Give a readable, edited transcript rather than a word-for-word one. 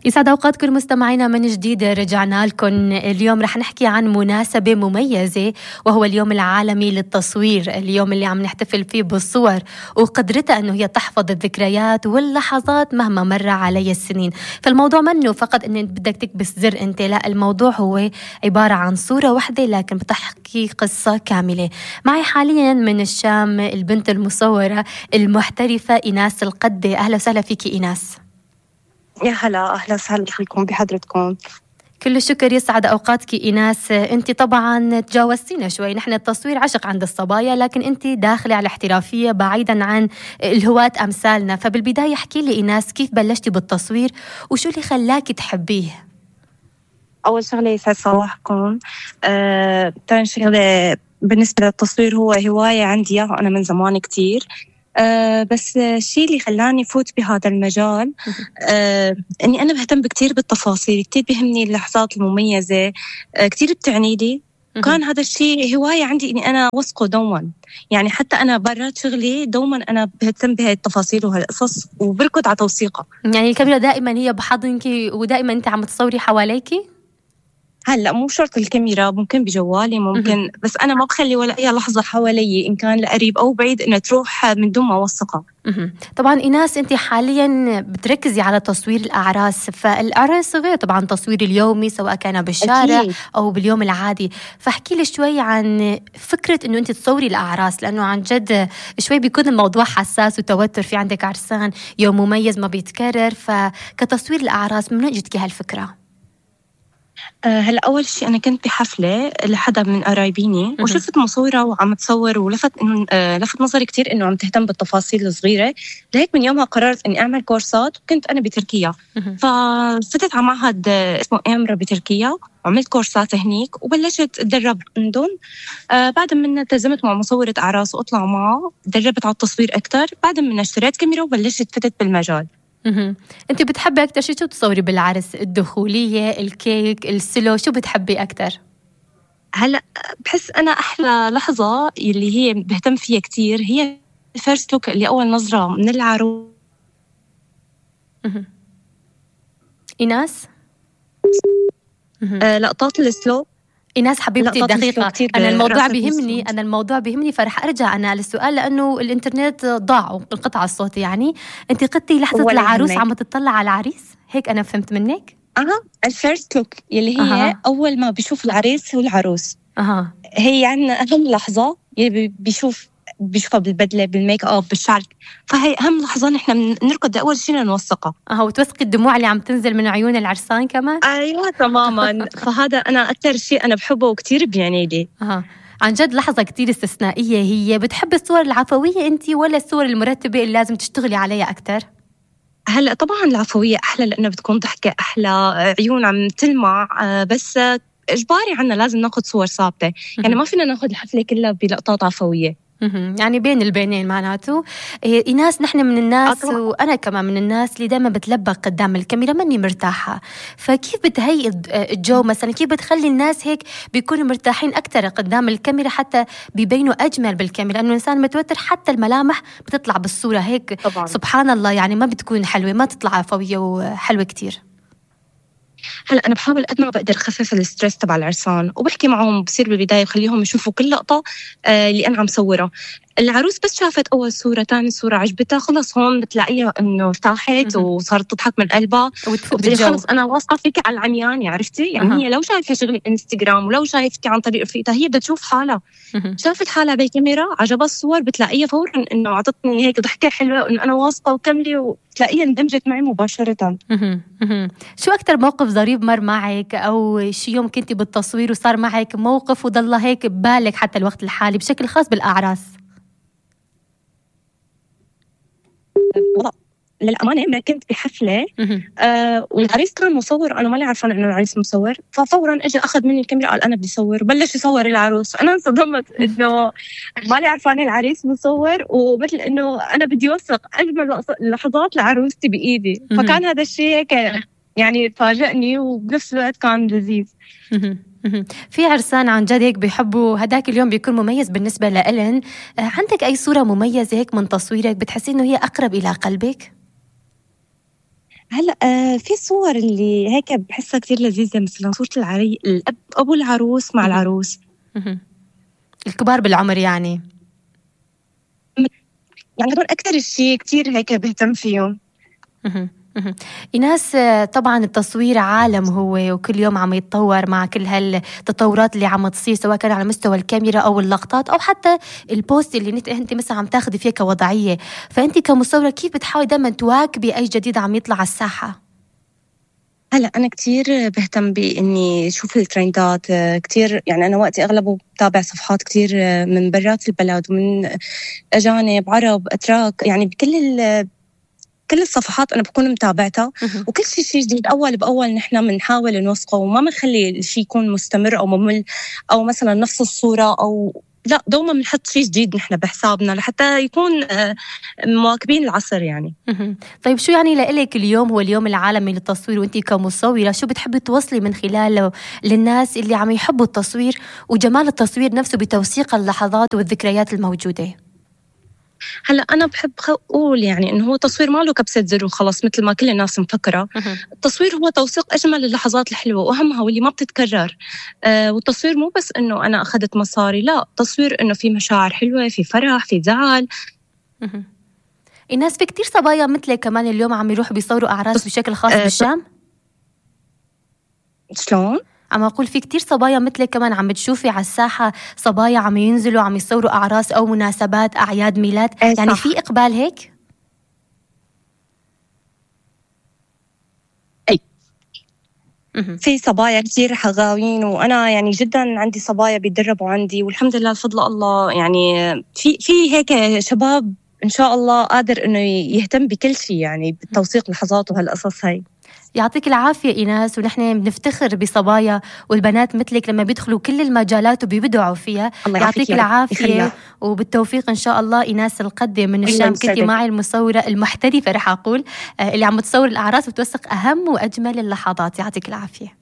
يسعد أوقاتكم مستمعينا من جديد. رجعنا لكم اليوم. رح نحكي عن مناسبة مميزة وهو اليوم العالمي للتصوير، اليوم اللي عم نحتفل فيه بالصور وقدرتها أنه هي تحفظ الذكريات واللحظات مهما مر علي السنين. فالموضوع منه فقط أن بدك تكبس زر أنت، لا، الموضوع هو عبارة عن صورة واحدة لكن بتحكي قصة كاملة. معي حاليا من الشام البنت المصورة المحترفة إيناس القدة. أهلا وسهلا فيكي إيناس. يا هلا، أهلا وسهلا فيكم بحضرتكم. كل الشكر، يسعد أوقاتك إيناس. أنت طبعا تجاوزتينا شوي، نحن التصوير عشق عند الصبايا لكن أنت داخلة على الاحترافية بعيدا عن الهواة أمثالنا. فبالبداية احكي لي إيناس، كيف بلشتي بالتصوير وشو اللي خلاكي تحبيه؟ أول شغلة يسعد صباحكم. تاني شغلة بالنسبة للتصوير هو هواية عندي أنا من زمان كتير. بس الشيء اللي خلاني فوت بهذا المجال أني أنا بهتم كتير بالتفاصيل، كتير بيهمني اللحظات المميزة، كتير بتعني لي. وكان هذا الشيء هواية عندي أني أنا وثقه دوما، يعني حتى أنا برات شغلي دوما أنا بهتم بهاي التفاصيل وهالقصص وبركض على توثيقها. يعني الكاميرا دائما هي بحضنك ودائما أنت عم تصوري حواليكي؟ هلا مو شرط الكاميرا، ممكن بجوالي ممكن، بس أنا ما بخلي ولا أي لحظة حوالي إن كان لقريب أو بعيد إنها تروح من دون ما أوثقها. طبعا إيناس أنت حاليا بتركزي على تصوير الأعراس، فالأعراس غير طبعا تصوير اليومي سواء كان بالشارع أكيد. أو باليوم العادي. فاحكي لي شوي عن فكرة إنه أنت تصوري الأعراس، لأنه عن جد شوي بيكون الموضوع حساس وتوتر، في عندك عرسان، يوم مميز ما بيتكرر، فكتصوير الأعراس من وين جتك هالفكرة؟ هلا أول شيء أنا كنت بحفلة لحدا من قرايبيني وشفت مصورة وعم تصور ولفت إنه لفت نظري كتير إنه عم تهتم بالتفاصيل الصغيرة. لهيك من يومها قررت إني أعمل كورسات، وكنت أنا بتركيا ففتت على معهد اسمه إمرا بتركيا وعملت كورسات هنيك وبلشت أتدرب عندهم. بعد ما التزمت مع مصورة أعراس وأطلع معه تدربت على التصوير أكتر. بعد ما اشتريت كاميرا وبلشت فتت بالمجال. أنت بتحبي أكتر شو تصوري بالعرس؟ الدخولية، الكيك، السلو، شو بتحبي أكتر؟ هلا بحس أنا أحلى لحظة اللي هي بهتم فيها كتير هي الفيرست لوك، اللي أول نظرة من العروس. إيناس؟ لقطات السلو. إيناس حبيبتي دقيقة، أنا الموضوع بيهمني فرح أرجع أنا للسؤال لأنه الإنترنت ضاع وانقطع الصوت. يعني أنت قلتي لحظة العروس عم تطلع على العريس، هيك أنا فهمت منك؟ الفيرست لوك اللي هي أول ما بيشوف العريس والعروس. هي يعني أهم لحظة اللي بيشوفها بالبدلة بالميك اب بالشعر، فهي أهم لحظة نحن بنركض أول شيء نوثقها. وتوثقي الدموع اللي عم تنزل من عيون العرسان كمان؟ أيوة تماما. فهذا أنا أكتر شيء أنا بحبه وكتير بيعني لي. عن جد لحظة كتير استثنائية. هي بتحب الصور العفوية أنت ولا الصور المرتبة اللي لازم تشتغلي عليها أكتر؟ هلأ طبعا العفوية أحلى لأنه بتكون ضحكة أحلى، عيون عم تلمع، بس إجباري عنا لازم ناخد صور ثابتة. يعني ما فينا ناخد الحفلة كلها بلقطات عفوية. يعني بين البينين معناته. إيناس نحن من الناس وأنا كمان من الناس اللي دائما بتلبق قدام الكاميرا ماني مرتاحة. فكيف بتهيئ الجو مثلا؟ كيف بتخلي الناس هيك بيكونوا مرتاحين أكتر قدام الكاميرا حتى بيبينوا أجمل بالكاميرا؟ لأنه الإنسان متوتر حتى الملامح بتطلع بالصورة هيك طبعا. سبحان الله، يعني ما بتكون حلوة، ما تطلع عفوية وحلوة كتير. هلا أنا بحاول قد ما بقدر أخفف الستريس تبع العرسان وبحكي معهم بصير بالبداية وخليهم يشوفوا كل لقطة اللي أنا عم صورها. العروس بس شافت أول صورة تاني صورة عجبتها، خلص هون بتلاقيها إنه ارتاحت وصارت تضحك من قلبها وبتقولي خلص أنا واثقة فيك على العميان. عرفتي يعني هي لو شايفة شغلي انستغرام ولو شايفتي عن طريق رفيقتها هي بدها تشوف حالها. شافت حالها بالكاميرا عجبها الصور بتلاقيها فورا إنه عطتني هيك ضحكة حلوة وإنه أنا واثقة وكملي، وتلاقيها اندمجت معي مباشرة. شو أكتر موقف ظريف مر معك أو شي يوم كنتي بالتصوير وصار معك موقف وضل هيك ببالك حتى الوقت الحالي بشكل خاص بالأعراس؟ للأمانة ما كنت بحفلة والعريس كان مصور، أنا مالي عارفة إنه العريس مصور، ففورا إجا أخذ مني الكاميرا قال أنا بدي صور وبلش يصور العروس. أنا انصدمت إنه مالي عارفة إن العريس مصور ومثل إنه أنا بدي أوثق أجمل لحظات لعروستي بإيدي. فكان هذا الشيء هيك يعني فاجأني وبنفس الوقت كان لذيذ. في عرسان عن جد هيك بيحبوا هداك اليوم بيكون مميز بالنسبة لإلن. عندك أي صورة مميزة هيك من تصويرك بتحسي إنه هي أقرب إلى قلبك؟ هلا في صور اللي هيك بحسها كتير لذيذة، مثلا صورة الأب أبو العروس مع مهم. العروس. مهم. الكبار بالعمر يعني. يعني هدول أكتر الشيء كتير هيك بهتم فيهم. مهم. مهم. إيناس، طبعا التصوير عالم هو، وكل يوم عم يتطور مع كل هالتطورات اللي عم تصير، سواء كان على مستوى الكاميرا أو اللقطات أو حتى البوست اللي أنت مثلا عم تاخدي فيه كوضعية. فأنت كمصورة كيف بتحاولي دائما تواكبي أي جديد عم يطلع على الساحة؟ هلا أنا كتير بهتم بإني شوف الترندات كتير. يعني أنا وقتي أغلبه بتابع صفحات كتير من برات البلد ومن أجانب عرب أتراك، يعني كل الصفحات أنا بكون متابعتها. مهم. وكل شيء جديد أول بأول نحن بنحاول نوثقه وما بنخلي الشيء يكون مستمر أو ممل، أو مثلا نفس الصورة، أو لا، دوما بنحط شيء جديد نحن بحسابنا لحتى يكون مواكبين العصر يعني. مهم. طيب شو يعني لإلك اليوم هو اليوم العالمي للتصوير، وانتي كمصورة شو بتحبي توصلي من خلاله للناس اللي عم يحبوا التصوير وجمال التصوير نفسه بتوثيق اللحظات والذكريات الموجودة؟ هلا أنا بحب أقول يعني إنه هو تصوير ما له كبسة زر وخلاص مثل ما كل الناس مفكرة. مهم. التصوير هو توثيق أجمل اللحظات الحلوة وأهمها واللي ما بتتكرر. والتصوير مو بس إنه أنا أخذت مصاري، لا، تصوير إنه في مشاعر حلوة، في فرح، في زعل. مهم. الناس في كتير صبايا مثلك كمان اليوم عم يروحوا بيصوروا أعراس بشكل خاص بالشام. شلون؟ عم أقول في كتير صبايا مثلك كمان عم بتشوفي على الساحة صبايا عم ينزلوا عم يصوروا أعراس أو مناسبات أعياد ميلاد، يعني صح. في إقبال هيك؟ أي. مهم. في صبايا كتير حغاوين، وأنا يعني جدا عندي صبايا بيتدربوا عندي، والحمد لله بفضل الله. يعني في هيك شباب إن شاء الله قادر إنه يهتم بكل شيء، يعني بالتوثيق لحظات وهالقصص هاي. يعطيك العافية إيناس، ونحن بنفتخر بصبايا والبنات مثلك لما بيدخلوا كل المجالات وبيبدعوا فيها. الله يعطيك يعافيك يا رب، العافية يخليك. وبالتوفيق إن شاء الله. إيناس القدي من الله الشام، كنتي يسعدك. معي المصورة المحترفة رح أقول اللي عم تصور الأعراس وتوثق أهم وأجمل اللحظات. يعطيك العافية.